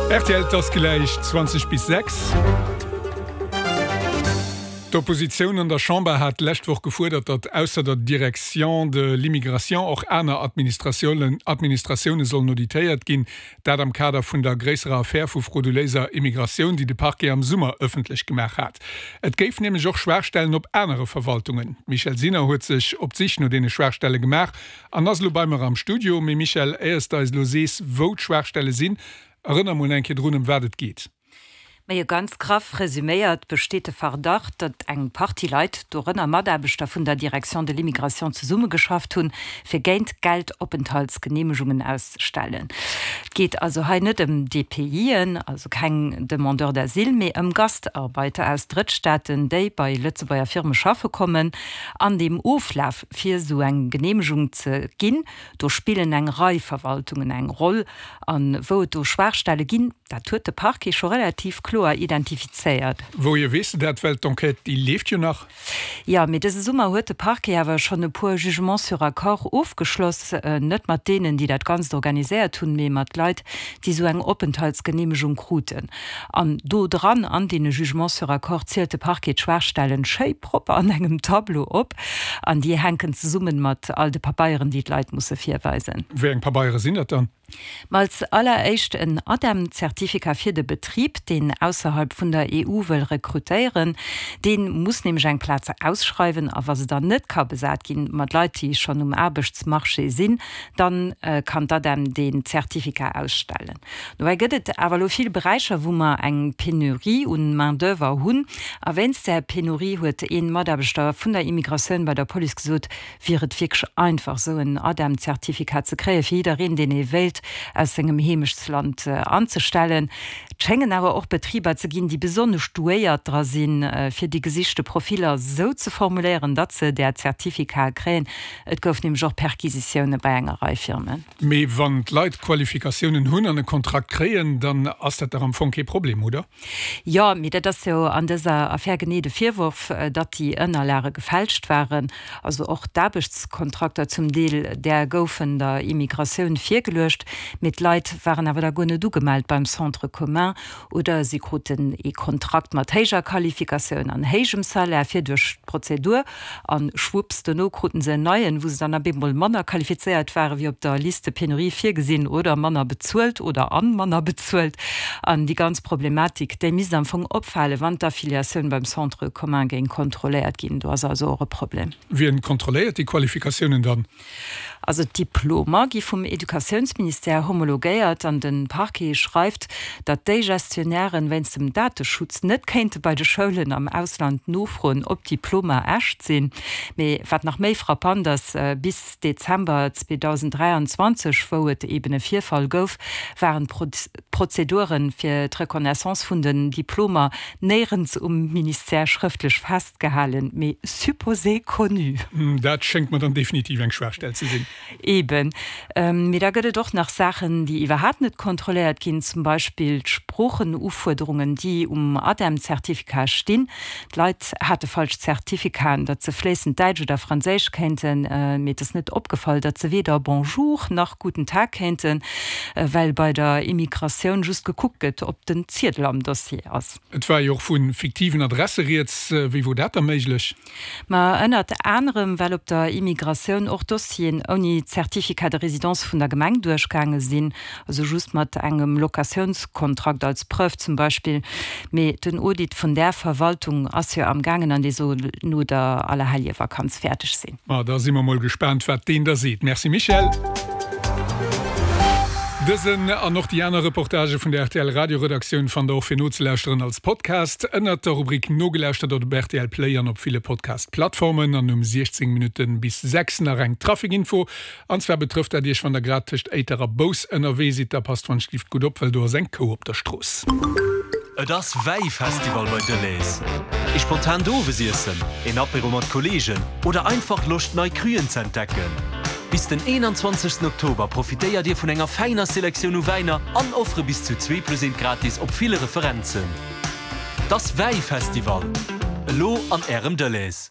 Rtl, 't ass gläich 20 bis 6. D'Oppositioun an der Chamber hat d'lescht Woch gefuerdert, datt ausser der Direction de l'immigration och aner Administratioune sollen auditéiert ginn. Dat am Kader vun der gréisserer Affär vu frauduléiser Immigratioun, déi de Parquet am Summer ëffentlech gemaach hat. Et géif nämlech och Schwaachstellen op anere Verwaltungen. D'Michèle Sinner huet sech op d'Sich no deene Schwaachstelle gemaach an ass elo bei mer am Studio. Mee Michèle, éiers de eis elo sees, wou d'Schwaachstelle sinn, erënner mol eng Kéier drun, ëm wat et geet. Majo, ganz graff resüméiert besteet de Verdacht, datt eng Partie Leit, dorënner Mataarbechter vun der Direction de l'immigration, zesummegeschafft hunn, fir géint Geld Openthaltsgeneemegungen auszestellen. Et geet also hei net ëm DPIen, also keng Demandeurs d'asile, mee ëm Gastarbeiter aus Drëttstaaten, déi bei Lëtzebuerger Firme schaffe kommen. An deem Oflaf, fir esou eng Geneemegung ze ginn, do spillen eng Rei Verwaltungen eng Roll. A wou et do Schwaachstelle ginn, dat huet de Parquet scho relativ kloer identifizéiert. Wouhier weess de dat? Well d'Enquête, déi leeft jo nach. Jo, mee dëse Summer huet de Parquet awer schonn e puer Jugements sur accord ofgeschloss. Net mat deenen, déi dat Ganzt organiséiert hunn, mee mat Leit, déi esou eng Openthaltsgeneemegung kruten. An do dran, an deene Jugements sur accord, zielt de Parquet d'Schwaachstellen schéi propper an engem Tableau op. An déi hänken zesummen mat all de Pabeieren, déi d'Leit musse virweisen. Wéi eng Pabeiere sinn dat dann? Ma als alleréischt en ADEM-Zertifika fir de Betrib, deen ausserhalb vun der EU wëll rekrutéieren. Dee muss nämlech eng Plaz ausschreiwen a wa se dann net ka besat ginn mat Leit, déi schonn um Aarbechtsmarché sinn, dann kann d'ADEM deen Zertifika ausstellen. Dobäi gëtt et awer elo vill Beräicher, wou mer eng Penurie un Main d'oeuvre hunn. A wéinst där Penurie huet ee Mataarbechter vun der Immigratioun bei der Police gesot, wier et wierklech einfach, esou en ADEM-Zertifikat ze kréien, fir jiddereen, deen ee wéilt aus sengem Heemechtsland anzestellen. Et schéngen awer och Betriber ze ginn, déi besonnesch douéiert dra sinn, fir déi gesichte Profiller esou ze formuléieren, datt se där Zertifikate kréien. Et gouf nämlech och Perquisitioune bei enger Rei Firmen. Mee wann d'Leit Qualifikatiounen hunn an e Kontrakt kréien, dann ass dat dach am Fong kee Problem, oder? Jo, mee dat ass jo an dëser Affär genee de Virworf, datt déi Ënnerlage gefälscht waren. Also och d'Aarbechtskontrakter zum Deel, där goufen der Immigratioun virgeluecht, mee d'Leit waren awer da guer net ugemellt beim Centre commun oder si kruten ee Kontrakt mat héijer Qualifikatioun an héijem Salaire fir duerch d'Prozedur An schwupps, dono kruten se en neien, wou se dann ab eemol manner qualifizéiert waren, wéi op der Liste Pénurie virgesinn, oder manner bezuelt, oder an manner bezuelt. An déi ganz Problematik, déi misst am Fong opfalen, wann d'Affiliatioun beim Centre commun géing kontrolléiert ginn. Do ass also och e Problem. Wien kontrolléiert déi Qualifikatiounen dann? Also d'Diplomer gi vum Educatiounsministère homologéiert an de Parquet schreift, datt déi Gestionnairen wéinst dem Dateschutz net kéinte bei de Schoulen am Ausland nofroen, ob d'Diplomer echt sinn. Mee wat nach méi frappant ass, Bis Dezember 2023, wou et eben e Virfall gouf, waren d'Prozedure fir d'Reconnaissance vun den Diplomer néierens um Ministère schrëftlech festgehalen, mee supposé connu. Dat schéngt mer dann definitiv eng Schwaachstell ze sinn. Eben. Mee da gëtt et och nach Saachen, déi iwwerhaapt net kontrolléiert ginn, zum Beispill d'Sproochenufuerderungen, déi um ADEM-Zertifikat stinn. D'Leit hate falsch Zertifikaten, datt se fléissend Däitsch oder Franséisch kéinten, mee et ass net opgefall, datt se weder Bonjour nach Guten Tag kéinten, well bei der Immigratioun just gekuckt gëtt, ob den Ziedel am Dossier ass. Et war jo och vu fiktiven Adresse rieds. Wéi wor dat da méiglech? Ma ënnert anerem, well op der Immigratioun och Dossieren ouni Certificat de résidence vun der Gemeng duerchgaange sinn, also just mat engem Locatiounskontrakt als Preuve zum Beispill. Mee den Audit vun där Verwaltung ass jo am gaangen an dee soll no der Allerheljevakanz fäerdeg sinn. Ma da si mer mol gespaant, wat deen da seet. Merci Michèle. Dësen an och déi aner Reportagë vun der rtl Radioredaktioun fannt der och fir nozelauschteren als Podcast ënnert der Rubrik Nogelauschtert op rtl Play an op ville Podcast-Plattformen. An um 16 Minutte bis 6 nach eng Traficinfo. An zwar betrëfft dat Iech, wann der grad tëscht Éiter a Bous ënnerwee sidd. Da passt wann-schlift gutt op, well do ass eng Kou op der Strooss. Et ass Wäifestival bei Delhaize. Ee spontant Owesiessen, een Apéro mat Kolleegen oder einfach Loscht nei Cruen ze entdecken? Bis den 21 Oktober profitéiert Dir vun enger fäiner Selektioun u Wäiner an Offere bis zu zwee plus eent gratis op ville Referenzen. T'ass Wäifestival! Elo an Ärem Delhaize.